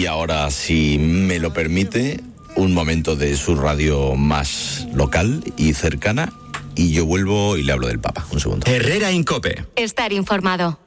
Y ahora, si me lo permite, un momento de su radio más local y cercana, y yo vuelvo y le hablo del Papa. Un segundo. Herrera en COPE. Estar informado.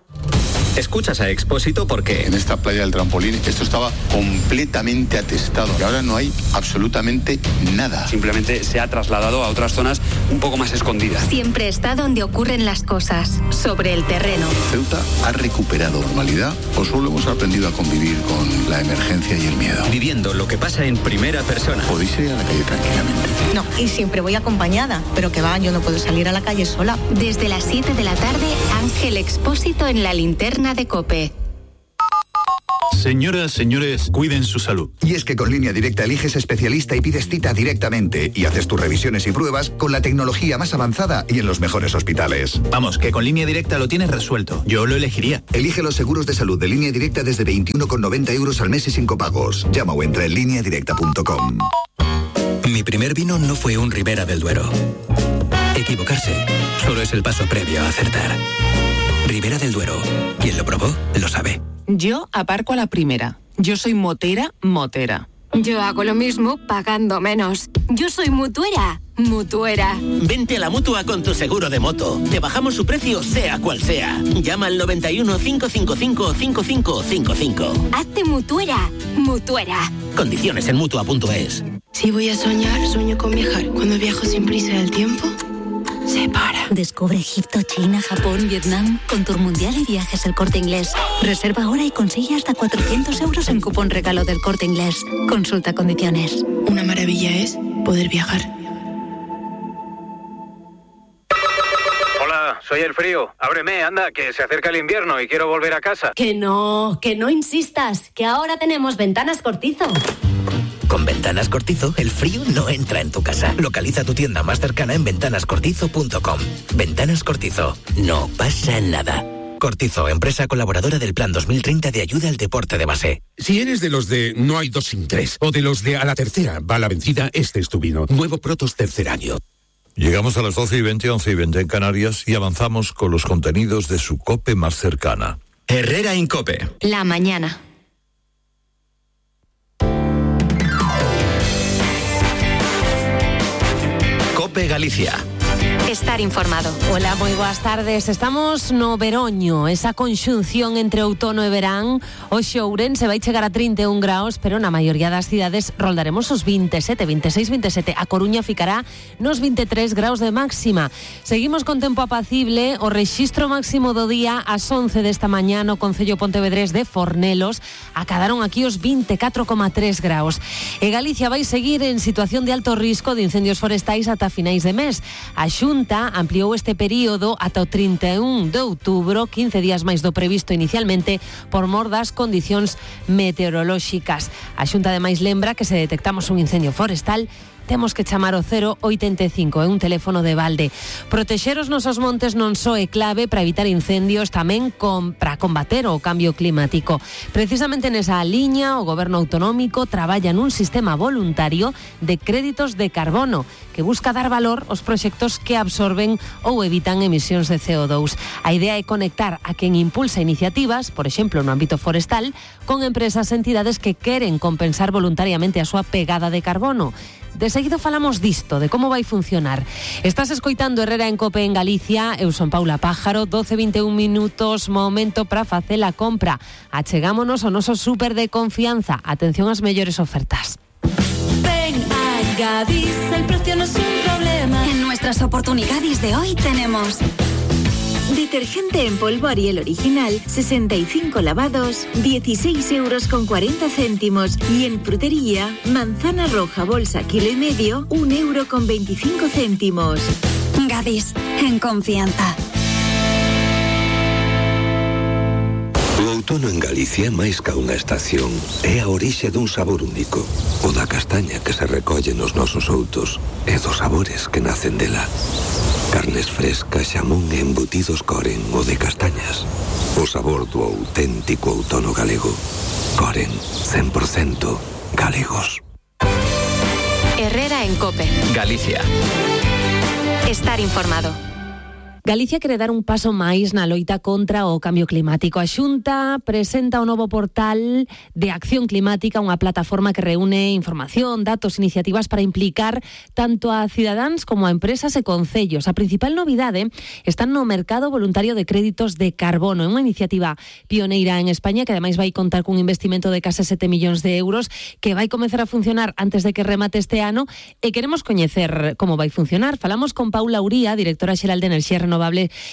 Escuchas a Expósito porque en esta playa del Trampolín esto estaba completamente atestado y ahora no hay absolutamente nada. Simplemente se ha trasladado a otras zonas un poco más escondidas. Siempre está donde ocurren las cosas, sobre el terreno. Ceuta ha recuperado normalidad o solo hemos aprendido a convivir con la emergencia y el miedo. Viviendo lo que pasa en primera persona. Podéis ir a la calle tranquilamente. No, y siempre voy acompañada, pero que va, yo no puedo salir a la calle sola. Desde las 7 de la tarde, Ángel Expósito en la linterna de COPE. Señoras, señores, cuiden su salud. Y es que con Línea Directa eliges especialista y pides cita directamente y haces tus revisiones y pruebas con la tecnología más avanzada y en los mejores hospitales. Vamos, que con Línea Directa lo tienes resuelto. Yo lo elegiría. Elige los seguros de salud de Línea Directa desde 21,90 € al mes y sin copagos. Llama o entra en lineadirecta.com. Mi primer vino no fue un Ribera del Duero. Equivocarse solo es el paso previo a acertar. Ribera del Duero. Quien lo probó, lo sabe. Yo aparco a la primera. Yo soy motera. Yo hago lo mismo pagando menos. Yo soy mutuera. Vente a la Mutua con tu seguro de moto. Te bajamos su precio sea cual sea. Llama al 91 555 5555. Hazte mutuera. Condiciones en Mutua.es. Si voy a soñar, sueño con viajar. Cuando viajo sin prisa el tiempo se para. Descubre Egipto, China, Japón, Vietnam con Tour Mundial y Viajes El Corte Inglés. Reserva ahora y consigue hasta 400 € en cupón regalo del Corte Inglés. Consulta condiciones. Una maravilla es poder viajar. Hola, soy el frío. Ábreme, anda, que se acerca el invierno y quiero volver a casa. Que no insistas, que ahora tenemos Ventanas Cortizo. Con Ventanas Cortizo, el frío no entra en tu casa. Localiza tu tienda más cercana en ventanascortizo.com. Ventanas Cortizo. No pasa nada. Cortizo, empresa colaboradora del Plan 2030 de ayuda al deporte de base. Si eres de los de no hay dos sin tres, o de los de a la tercera va la vencida, este es tu vino. Nuevo Protos tercer año. Llegamos a las 12:20, 11:20 en Canarias y avanzamos con los contenidos de su COPE más cercana. Herrera en COPE. La mañana. COPE Galicia. Estar informado. Hola, moi boas tardes. Estamos no veroño, esa conxunción entre outono e verán. Hoxe Ourense vai chegar a 31 graus, pero na maioría das cidades roldaremos os 27, 26, 27. A Coruña ficará nos 23 graus de máxima. Seguimos con tempo apacible. O rexistro máximo do día ás 11 desta mañá no concello pontevedrés de Fornelos acadaron aquí os 24,3 graus. E Galicia vai seguir en situación de alto risco de incendios forestais ata finais de mes. A Xunta ampliou este período ata o 31 de outubro, 15 días máis do previsto inicialmente, por mor das condicións meteorolóxicas. A Xunta ademais lembra que se detectamos un incendio forestal, temos que chamar o 085, é un teléfono de balde. Protexer os nosos montes non só é clave para evitar incendios, tamén para combater o cambio climático. Precisamente nesa liña, o Goberno autonómico traballa nun sistema voluntario de créditos de carbono que busca dar valor aos proxectos que absorben ou evitan emisións de CO2. A idea é conectar a quen impulsa iniciativas, por exemplo, no ámbito forestal, con empresas e entidades que queren compensar voluntariamente a súa pegada de carbono. De seguido falamos disto, de como vai funcionar. Estás escoitando Herrera en COPE en Galicia. Eu son Paula Pájaro, 12:21 minutos, momento para facer a compra. Achegámonos ao noso súper de confianza. Atención ás mellores ofertas. Ven a Gadis, el precio no es un problema. En nuestras oportunidades de hoy tenemos detergente en polvo Ariel original, 65 lavados, 16,40 €. Y en frutería, manzana roja bolsa kilo y medio, 1,25 €. Gadis, en confianza. O outono en Galicia, máis ca unha estación, é a orixe dun sabor único. O da castaña que se recolle nos nosos outos e dos sabores que nacen dela. Carnes frescas, xamón e embutidos Coren, o de castañas. O sabor do auténtico outono galego. Coren, 100% galegos. Herrera en COPE. Galicia. Estar informado. Galicia quere dar un paso máis na loita contra o cambio climático. A Xunta presenta o novo portal de Acción Climática, unha plataforma que reúne información, datos, iniciativas para implicar tanto a cidadáns como a empresas e concellos. A principal novidade está no mercado voluntario de créditos de carbono. É unha iniciativa pioneira en España que ademais vai contar cun investimento de case 7 millóns de euros que vai comezar a funcionar antes de que remate este ano e queremos coñecer como vai funcionar. Falamos con Paula Uría, directora xeral de Enerxía Renovable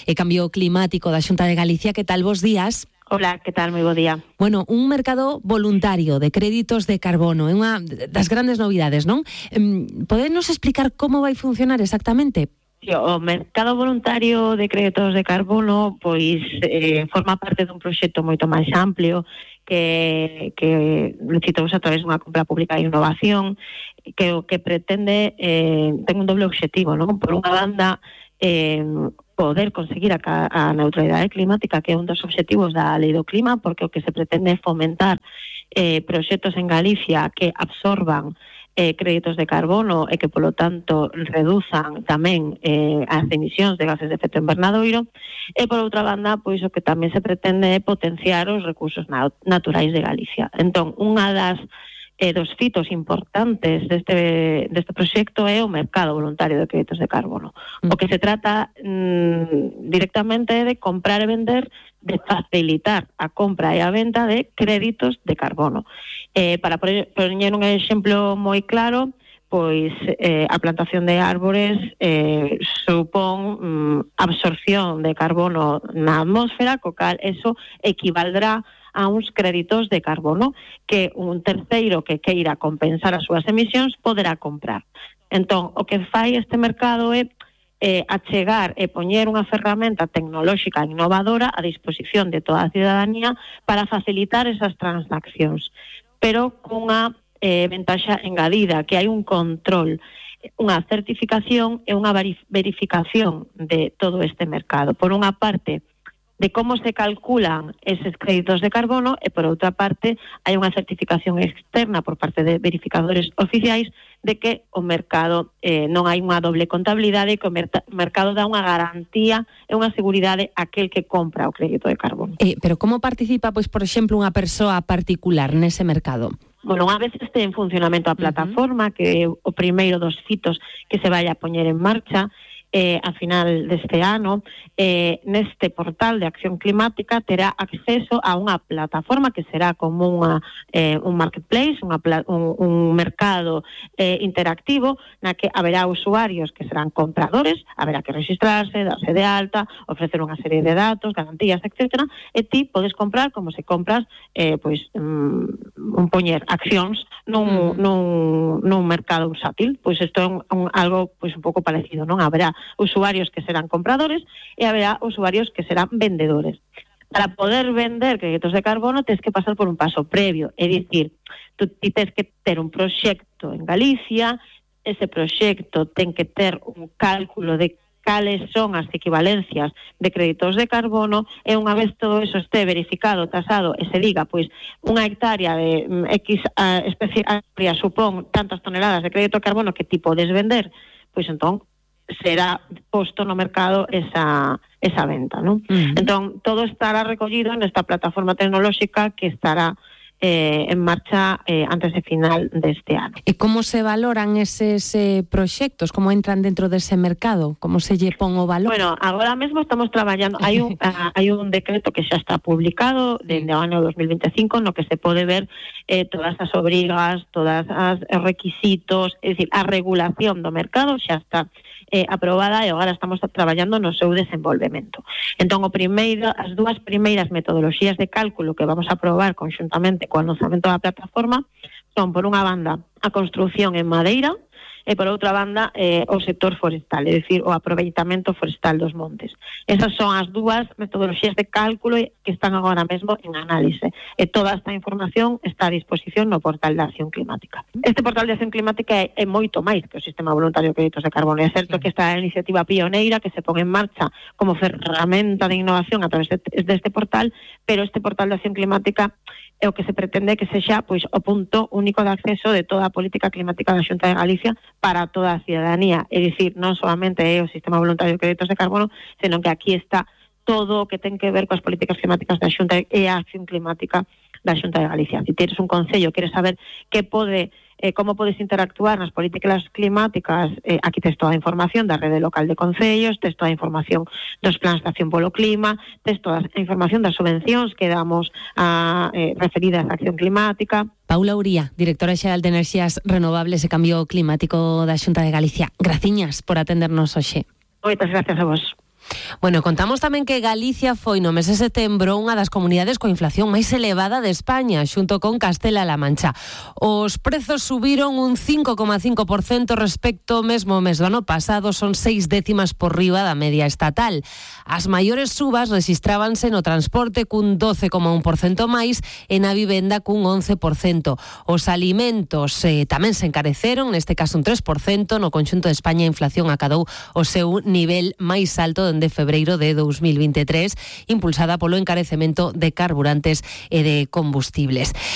e Cambio Climático da Xunta de Galicia. Que tal, bos días? Hola, que tal? Moi bo día. Bueno, un mercado voluntario de créditos de carbono é unha das grandes novidades, non? Podenos explicar como vai funcionar exactamente? O mercado voluntario de créditos de carbono pois forma parte dun proxecto moito máis amplio que licitouse a través dunha compra pública de innovación que o que pretende ten un doble obxectivo, non? Por unha banda, poder conseguir a neutralidade climática, que é un dos obxectivos da Lei do Clima, porque o que se pretende é fomentar proxectos en Galicia que absorban créditos de carbono e que, polo tanto, reduzan tamén as emisións de gases de efecto invernadoiro, e, por outra banda, pois o que tamén se pretende é potenciar os recursos naturais de Galicia. Entón, unha dos fitos importantes deste proxecto é o mercado voluntario de créditos de carbono. O que se trata directamente é de comprar e vender, de facilitar a compra e a venta de créditos de carbono. Para poñer un exemplo moi claro, pois a plantación de árbores supón absorción de carbono na atmósfera, co cal eso equivaldrá a uns créditos de carbono que un terceiro que queira compensar as súas emisións poderá comprar. Entón, o que fai este mercado é achegar e poñer unha ferramenta tecnolóxica innovadora a disposición de toda a cidadanía para facilitar esas transaccións, pero cunha ventaxa engadida, que hai un control, unha certificación e unha verificación de todo este mercado. Por unha parte, de como se calculan eses créditos de carbono e, por outra parte, hai unha certificación externa por parte de verificadores oficiais de que o mercado non hai unha doble contabilidade e que o mercado dá unha garantía e unha seguridade a aquel que compra o crédito de carbono. Pero como participa, pois, por exemplo, unha persoa particular nese mercado? Bueno, unha vez este en funcionamento a plataforma, que é o primeiro dos fitos que se vai a poñer en marcha, a final deste ano, neste portal de Acción Climática terá acceso a unha plataforma que será como un marketplace, un mercado interactivo, na que haberá usuarios que serán compradores, haberá que registrarse, darse de alta, ofrecer unha serie de datos, garantías, etc. E ti podes comprar como se compras un poñer accións nun mercado bursátil. Pois isto é algo pois un pouco parecido, non? Haberá usuarios que serán compradores e haberá usuarios que serán vendedores. Para poder vender créditos de carbono tens que pasar por un paso previo, é dicir, tú tens que ter un proxecto en Galicia, ese proxecto ten que ter un cálculo de cales son as equivalencias de créditos de carbono e unha vez todo eso este verificado, tasado e se diga, pois, unha hectárea de X especie amplia supón tantas toneladas de crédito de carbono que ti podes vender, pois entón será posto no mercado esa venta, non? Entón, todo estará recollido nesta plataforma tecnolóxica que estará en marcha antes de final deste ano. E como se valoran eses proxectos? Como entran dentro dese mercado? Como se lle pon o valor? Bueno, agora mesmo estamos traballando, hai un decreto que xa está publicado dende o ano 2025 no que se pode ver todas as obrigas, todas as requisitos, é dicir, a regulación do mercado xa está aprobada e agora estamos traballando no seu desenvolvemento. Entón, as dúas primeiras metodoloxías de cálculo que vamos a aprobar conxuntamente co lanzamento da plataforma son, por unha banda, a construción en madeira e, por outra banda, o sector forestal, é dicir, o aproveitamento forestal dos montes. Esas son as dúas metodoloxías de cálculo que están agora mesmo en análise. E toda esta información está a disposición no portal de Acción Climática. Este portal de Acción Climática é moito máis que o Sistema Voluntario de Créditos de Carbono. É certo que esta é a iniciativa pioneira que se pon en marcha como ferramenta de innovación a través deste portal, pero este portal de Acción Climática e o que se pretende que sexa pois o punto único de acceso de toda a política climática da Xunta de Galicia para toda a ciudadanía. É dicir, non solamente é o sistema voluntario de créditos de carbono, senón que aquí está todo o que ten que ver coas políticas climáticas da Xunta e a acción climática da Xunta de Galicia. Se tienes un concello, queres saber como podes interactuar nas políticas climáticas, aquí tes toda a información da rede local de concellos, tes toda a información dos plans de acción polo clima, tes toda a información das subvencións que damos referidas á acción climática. Paula Uría, directora xeral de Enerxías Renovables e Cambio Climático da Xunta de Galicia. Graciñas por atendernos hoxe. Moitas gracias a vos. Bueno, contamos tamén que Galicia foi no mes de setembro unha das comunidades coa inflación máis elevada de España, xunto con Castela-La Mancha. Os prezos subiron un 5,5% respecto ao mesmo mes do ano pasado, son 6 décimas por riba da media estatal. As maiores subas rexistrábanse no transporte cun 12,1% máis e na vivenda cun 11%. Os alimentos tamén se encareceron, neste caso un 3%, no conxunto de España a inflación acadou o seu nivel máis alto de febreiro de 2023, impulsada polo encarecemento de carburantes e de combustibles.